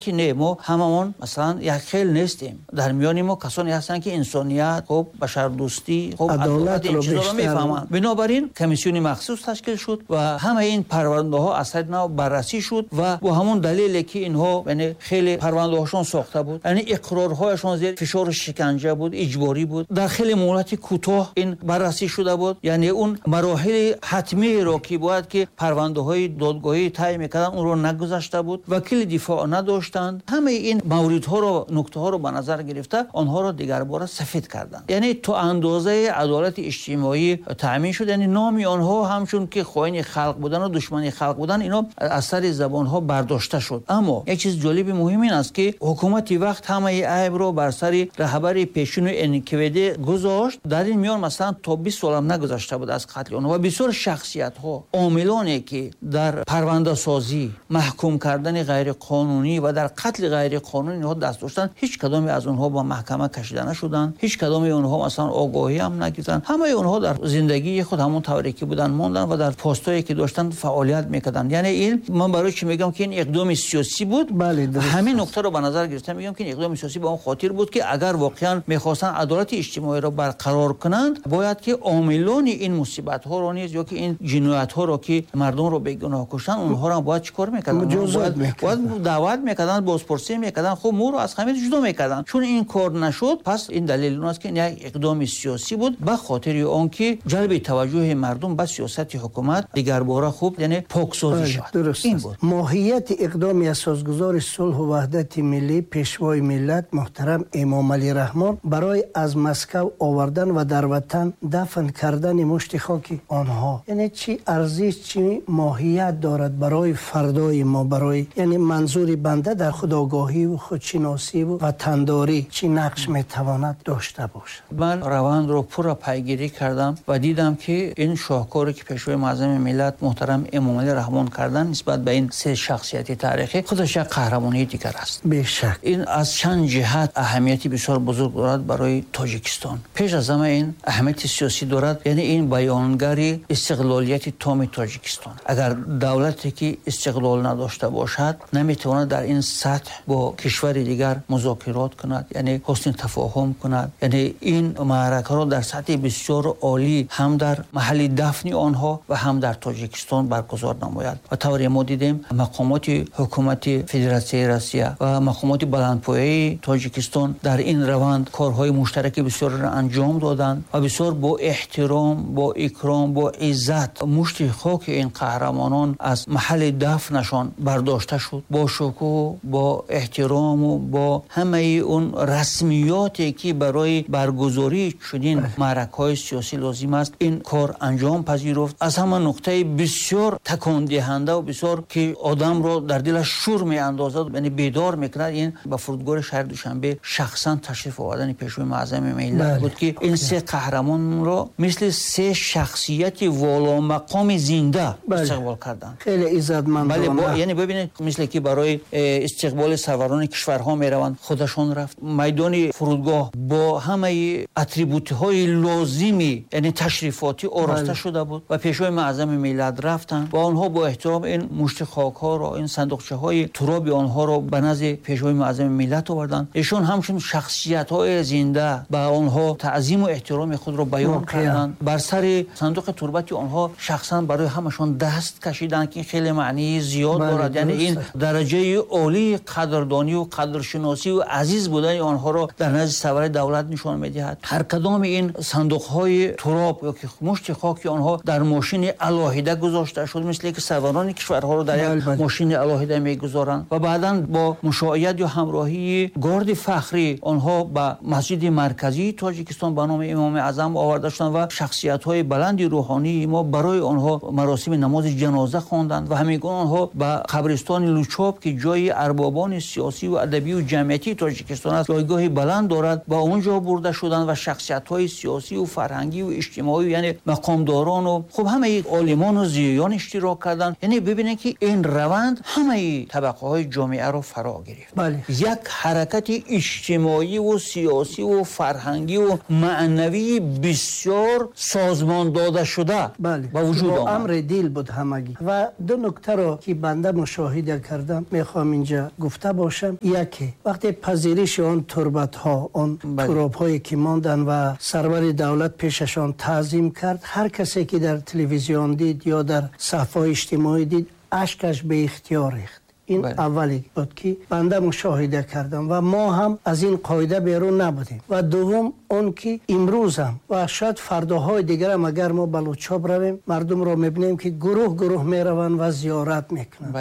Ки не, мо ҳамамон масалан як хел нестем. Дар миёни мо касоне ҳастанд, ки инсоният, хуб, башардӯстӣ, хуб, адолат, ин чизҳоро мефаҳманд. Бинобар ин комиссияи махсус ташкил шуд ва ҳамаи ин парвандаҳо аз сари нав баррасӣ шуд ва бо ҳамон далеле ки инҳо, яъне хеле парвандаҳошон сохта буд, яъне иқрорҳояшон зери фишору шиканҷа буд, иҷборӣ буд, дар хеле муҳлати кӯтоҳ ин баррасӣ шуда буд, яъне он мароҳили ҳатмиеро, ки бояд ки парвандаҳои додгоҳӣ тай мекарданд, онро нагузашта буд, вакили дифоъ надоштанд. Ҳамаи ин мавридҳоро, нуктаҳоро ба назар гирифта, онҳоро дигарбора сафед карданд. Яъне то андозаи адолати иҷтимоӣ таъмин шуд. Яъне номи онҳо ҳамчун ки хоини халқ будан ва душмани халқ будан, ино аз сари забонҳо бардошта шуд. Аммо як чизи ҷолиби муҳим ин аст, ки ҳукумати вақт ҳамаи айбро бар сари раҳбари пешини НКВД гузошт. Дар ин миён масалан то 20 солам нагузашта буд аз қатли онҳо ва бисёр шахсиятҳо, омилоне ки дар парвандасозӣ, маҳкум кардани ғайриқонунӣ ва дар қатли ғайриқонунӣ инҳо даст доштанд, ҳеҷ кадоме аз онҳо ба маҳкама кашида нашуданд, ҳеҷ кадоме онҳо масалан огоҳӣ ҳам нагирифтанд. Ҳамаи онҳо дар зиндагии худ ҳамон тавре ки буданд монданд ва дар постҳое ки доштанд фаъолият мекарданд. Яъне ин ман барои чӣ мегӯям, ки ин иқдоми сиёсӣ буд? Бале, дуруст. Ҳамин нуктаро ба назар гирифта мегӯям, ки ин иқдоми сиёсӣ ба он хотир буд, ки агар воқеан мехостанд адолати иҷтимоиро барқарор кунанд, бояд ки омилони ин мусибатҳоро низ ё ки ин ҷиноятҳоро, ки мардумро бегуноҳ куштанд, онҳоро бояд чӣ кор мекарданд? Муҷозот мекарданд. Бояд даъват мекарданд, бозпурсӣ мекарданд, хуб, моро аз хамир ҷудо мекарданд. Чун ин кор нашуд, пас ин далел он аст, ки ин як иқдоми сиёсӣ буд ба хотири он ки ҷалби таваҷҷӯҳи мардум ба сиёсати ҳукумат дигарбора, хуб, яъне поксозӣ шавад. Дуруст ин аст. Буд. Моҳияти иқдоми асосгузори сулҳу ваҳдати миллӣ, пешвои миллат муҳтарам Эмомалӣ Раҳмон барои аз Москав овардан ва дар ватан дафн кардани мушти хоки онҳо, яъне чӣ арзиш, чӣ моҳият дорад барои фардои мо, барои, яъне манзури банда, дар худогоҳӣ ва худшиносӣ ва ватандорӣ чӣ нақш метавонад дошта бошад? Ман равандро пурра пайгирӣ кардам ва дидам, ки ин шоҳкоре, ки пешвои муаззами миллат муҳтарам Эмомалӣ Раҳмон карданд нисбат ба ин се шахсияти таърихӣ, худаш як қаҳрамонии дигар аст. Бешак. Ин аз чанд ҷиҳат аҳамияти бисёр бузург дорад барои Тоҷикистон. Пеш аз ҳама ин аҳамияти сиёсӣ дорад, яъне ин баёнгари истиқлолияти томи Тоҷикистон. Агар давлате ки истиқлол надошта бошад, наметавонад дар ин сатҳ бо кишвари дигар музокирот кунад, яъне ҳусни тафоҳум кунад. Яъне ин маъракаро дар сатҳи бисёр олӣ ҳам дар маҳалли дафни онҳо ва ҳам дар Тоҷикистон баргузор намояд. Ва тавре мо дидем, мақомоти ҳукумати Федератсияи Россия ва мақомоти баландпояи Тоҷикистон дар ин раванд корҳои муштараки бисёрро анҷом доданд ва бисёр бо эҳтиром, бо икром, бо иззат мушти хоки ин қаҳрамонон аз маҳалли дафнашон бардошта шуд, бо шукӯҳ, бо эҳтирому бо ҳамаи он расмиёте, ки барои баргузории чунин маъракаҳои сиёсӣ лозим аст, ин кор анҷом пазируфт. Аз ҳама нуқтаи бисёр такондиҳанда ва бисёр ки одамро дар дилаш шур меандозад, яъне бедор мекунад, ин ба фурудгоҳи шаҳри Душанбе шахсан ташриф овардани пешвои муаззами миллат буд, ки ин се қаҳрамонро мисли се шахсияти воломақоми зинда истиқбол карданд. Хеле иззатмандона. Бале, яъне бибинед, мисле ки барои истиқболи сарварони кишварҳо мераванд, худашон рафт. Майдони фурудгоҳ бо ҳамаи атрибутҳои лозими, яъне ташрифотӣ, ороста шуда буд ва пешвои муаззами миллат рафтанд ва онҳо бо эҳтиром ин мушти хокҳоро, ин сандуқчаҳои туроби онҳоро ба назди пешвои муаззами миллат оварданд. Эшон ҳамчун шахсиятҳои зинда ба онҳо таъзиму эҳтироми худро баён карданд. Бар сари сандуқи турбати онҳо шахсан барои ҳамашон даст кашиданд, ки хеле маънии зиёд дорад. Яъне ин дараҷаи олии қадрдонию қадршиносию азиз будани онҳоро дар назди сарвари давлат нишон медиҳад. Ҳар кадоми ин сандуқҳои туроб ё ки мушти хоки онҳо дар мошини алоҳида гузошта шуд, мисле ки сарварони кишварҳоро дар як мошини алоҳида мегузоранд, ва баъдан бо мушоият ё ҳамроҳии горди фахрӣ онҳо ба масҷиди марказии Тоҷикистон ба номи Имоми Аъзам оварда шуданд ва шахсиятҳои баланди рӯҳонии мо барои онҳо маросими намози ҷаноза хонданд ва ҳамин гуна онҳо ба қабристони Лучоб, ки ҷои арбобони сиёсӣ ва адабию ҷамъиятии Тоҷикистон аст, ҷойгоҳи баланд дорад, ба он ҷо бурда шуданд ва шахсиятҳои сиёсию фарҳангию иҷтимоӣ, яъне мақомдорону, хуб, ҳамаи олимону зиёён иштирок карданд. Яъне бибинед, ки ин раванд ҳамаи табақаҳои ҷомеаро фаро гирифт. Як ҳаракати иҷтимоиву сиёсиву фарҳангиву маънавии бисёр созмон дода шуда ба вуҷуд бо омад. Амри дил буд ҳамагӣ. Ва ду нуктаро, ки банда мушоҳида кардам, мехоҳам инҷа инҷа гуфта бошам. Яке, вақте пазириши он турбатҳо, он туробҳое ки монданд ва сарвари давлат пешашон таъзим кард, ҳар касе ки дар телевизион дид ё дар саҳифаҳои иҷтимоӣ дид, ашкаш беихтиёр рехт. Ин аввале буд ки банда мушоҳида кардам ва мо ҳам аз ин қоида берун набудем. Ва дуввум он ки имрӯз ҳам ва шояд фардоҳои дигар ҳам агар мо ба Лучоб равем, мардумро мебинем ки гурӯҳ гурӯҳ мераванд ва зиёрат мекунанд,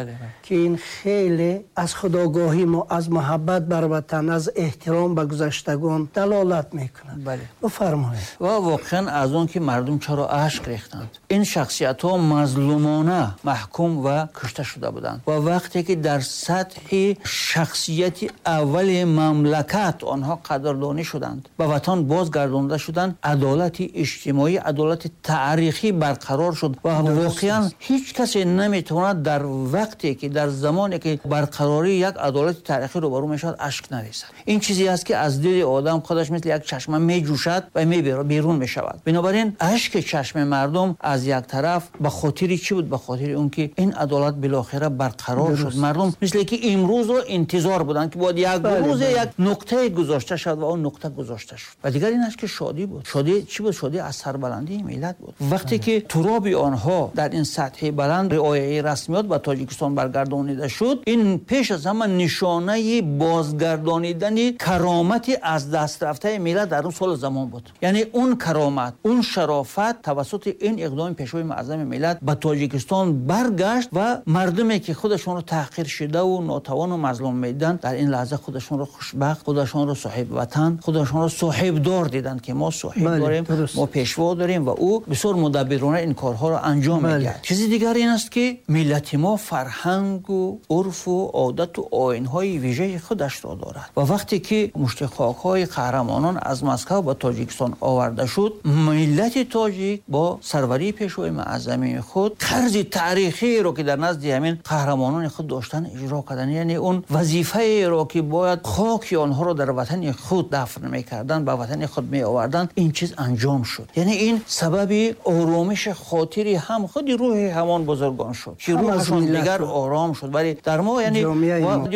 ки ин хеле аз худогоҳии мо, аз муҳаббат бар ватан, аз эҳтиром ба гузаштагон далолат мекунад. Бифармоед. Ва воқеан аз он ки мардум чаро ашк рехтанд, ин шахсиятҳо мазлумона маҳкум ва кушта шуда буданд ва вақте ки дар сатҳи шахсияти аввали мамлакат онҳо қадрдонӣ шуданд, ба ватан бозгардонда шуданд, адолати иҷтимоӣ, адолати таърихӣ барқарор шуд ва воқеан ҳеҷ касе наметавонад дар вақте ки дар замоне ки барқарории як адолати таърихӣ рӯбарӯ мешавад ашк нарезад. Ин чизе аст ки аз дили одам худаш мисли як чашма меҷӯшад ва берун мешавад. Бинобар ин ашки чашми мардум аз як тараф ба хотири чӣ буд? Ба хотири он ки ин адолат билохира барқарор шуд. Мардум мисли ки имрӯзро интизор буданд ки бояд як рӯзе як нуқтае гузошта шавад ва он нуқта гузошта шуд. Ва дигар ин аст ки шодӣ буд. Шодӣ чӣ буд? Шодӣ аз сарбаландии миллат буд. Вақте ки туроби онҳо дар ин сатҳи баланд риояи расмиёт ба Тоҷикистон баргардонида шуд, ин пеш аз ҳама нишонаи бозгардонидани каромати аз даст рафтаи миллат дар он соли замон буд. Яъне он каромат, он шарофат тавассути ин иқдоми пешвои муаззами миллат ба Тоҷикистон баргашт ва мардуме ки худашонро таҳқир шуда ва нотавон ва мазлум медиданд, дар ин лаҳза худашонро хушбахт, худашонро соҳиби ватан, худашонро соҳибдор диданд ки мо соҳиб дорем, мо пешво дорем ва ӯ бисёр мудаббирона ин корҳоро анҷом медиҳад. Чизи дигар ин аст ки миллати мо фарҳанг ва урфу одат ва оинҳои вижаи худашро дорад ва вақте ки мушти хокҳои қаҳрамонон аз Москва ба Тоҷикистон оварда шуд, миллати тоҷик бо сарварии пешвои муаззами худ қарзи таърихиро ки дар назди ҳамин қаҳрамонони худ доштан иҷро карданд. Яъне он вазифаеро ки бояд хоки онҳоро дар ватани худ дафн мекарданд, ба ватани худ меоварданд, ин чиз анҷом шуд. Яъне ин сабаби оромиши хотири ҳам худи рӯҳи ҳамон бузургон шуд ки рӯҳашон дигар ором шуд. Вале дар мо яъне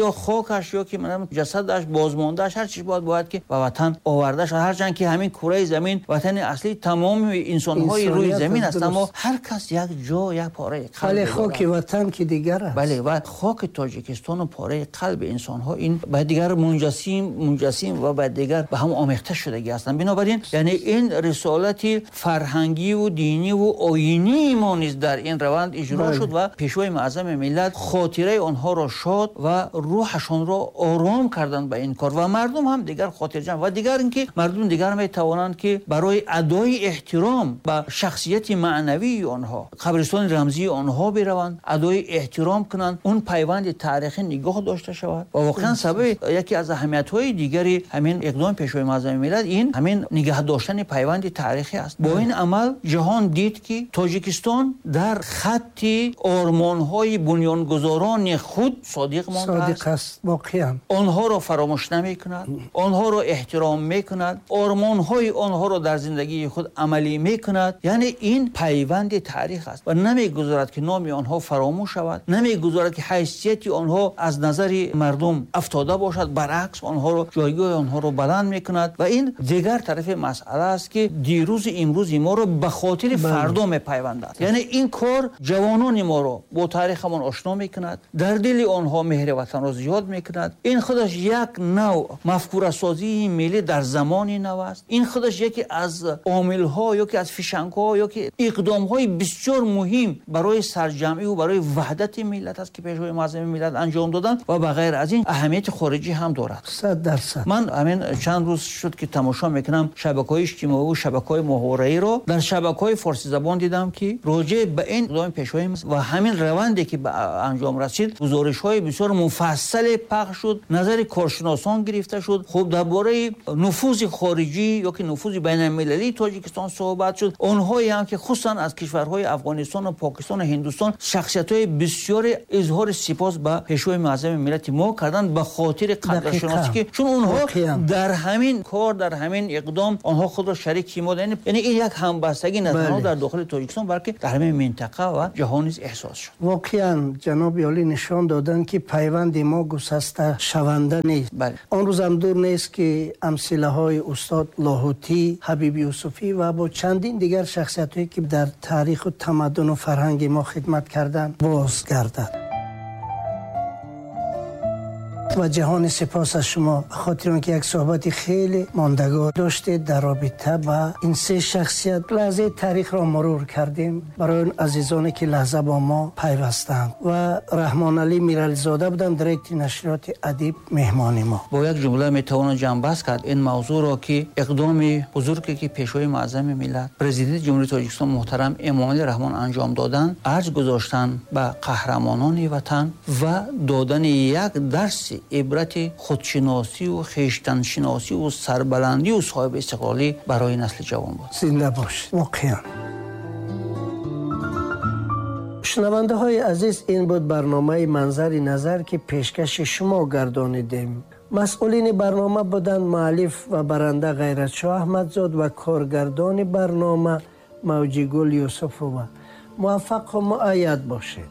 ё хокаш ё ки ҷасадаш бозмондааш ҳар чиз бояд ки ба ватан оварда шавад. Ҳарчанд ки ҳамин кураи замин ватани аслии тамоми инсонҳои рӯи замин аст, аммо ҳар кас як ҷо, як пораи қалб. Вале хоки ватан ки дигар аст. Бале, ва хоки Тоҷикистон ва пораи қалби инсонҳо ин ба дигар мунҷассим ва ба дигар ба ҳам омехта шудагӣ ҳастанд. Бинобар ин яъне ин рисолати фарҳангӣ ва динӣ ва оинии мо низ дар ин раванд иҷро шуд ва пешвои муаззами миллат хотираи онҳоро шод ва рӯҳашонро ором карданд ба ин кор ва мардум ҳам дигар хотирҷамъ. Ва дигар инки мардум дигар метавонанд ки барои адои эҳтиром ба шахсияти маънавии онҳо, қабристони рамзии онҳо бираванд, адои эҳтиром кунанд, он пайванди таърихӣ нигоҳ дошта шавад. Ва воқеан сабаби яке аз аҳамиятҳои дигари ҳамин иқдоми пешвои муаззами миллат ин ҳамин нигоҳ доштани пайванди таърихӣ аст. Бо ин амал ҷаҳон дид ки Тоҷикистон дар хатти ормонҳои бунёнгузорони худ содиқ мондааст. Содиқ аст воқеан. Онҳоро фаромӯш намекунад, онҳоро эҳтиром мекунад, ормонҳои онҳоро дар зиндагии худ амалӣ мекунад. Яъне ин пайванди таърих аст ва намегузорад ки номи онҳо фаромӯш шавад, намегузорад ки ҳайсияти онҳо аз назари мардум афтода бошад, баръакс онҳоро, ҷойгоҳи онҳоро баланд мекунад. Ва ин дигар тарафи масъала аст ки дирӯзи имрӯзи моро ба хотири фардо мепайвандад. Яъне ин кор ҷавонони моро бо таърихамон ошно мекунад, дар дили онҳо меҳри ватанро зиёд мекунад. Ин худаш як нав мафкурасозии миллӣ дар замони нав аст. Ин худаш яке аз омилҳо ё ки аз фишангҳо ё ки иқдомҳои бисёр муҳим барои сарҷамъӣ ва барои ваҳдати миллат аст ки пешвои муаззами миллат анҷом доданд ва ба ғайр аз ин аҳамияти хориҷӣ ҳам дорад. 100%. Ман ҳамин чанд рӯз шуд ки тамошо мекунам шабакаҳои иҷтимоӣ ва шабакаҳои моҳвораиро. Дар шабакаҳои форсизабон дидам ки роҷеъ ба ин иқдоми пешвои ва ҳамин раванде ки ба анҷом расид гузоришҳои бисёр муфассале пахш шуд, назари коршиносон гирифта шуд. Хуб, дар бораи нуфузи хориҷӣ ё ки нуфузи байналмилалии Тоҷикистон суҳбат шуд. Онҳое ҳам ки хусусан аз кишварҳои Афғонистон ва Покистон ва Ҳиндустон шахсиятҳои бисёре изҳори сипос Сипос ба Пешвои муаззами миллати мо карданд ба хотири қадршиносӣ, ки чун онҳо дар ҳамин кор, дар ҳамин иқдом онҳо худро шарики мо, яъне ин як ҳамбастагӣ на танҳо дар дохили Тоҷикистон, балки дар ҳамин минтақа ва ҷаҳон низ эҳсос шуд. Воқеан ҷаноби олӣ нишон доданд, ки пайванди мо гусасташаванда нест. Он рӯзам дур нест, ки амсилаҳои устод Лоҳутӣ, Ҳабиб Юсуфӣ ва бо чандин дигар шахсиятҳое, ки дар таъриху тамаддуну фарҳанги мо хидмат карданд, бозгардад. Ва ҷаҳони сипос аз шумо ба хотири он ки як суҳбати хеле мондагор доштед дар робита ба ин се шахсият. Лаҳзаи таърихро мурур кардем барои он азизоне, ки лаҳза бо мо пайвастанд. Ва Раҳмоналӣ Мирализода буданд, директори нашриёти «Адиб», меҳмони мо. Бо як ҷумла метавонам ҷамъбаст кард ин мавзӯъро, ки иқдоми бузурге, ки Пешвои муаззами миллат, Президенти Ҷумҳурии Тоҷикистон муҳтарам Эмомалӣ Раҳмон анҷом доданд, арҷ гузоштан ба қаҳрамонони ватан ва додани як дарси ибрати худшиносию хештаншиносию сарбаландию соҳиби истиқлолӣ барои насли ҷавон буд. Зинда бошед. Воқеан, шунавандаҳои азиз, ин буд барномаи «Манзари назар», ки пешкаши шумо гардонидем. Масъулини барнома буданд муаллиф ва баранда Ғайратшоҳ Аҳмадзод ва коргардони барнома Мавҷигул Юсуфова. Муваффақу муайяд бошед.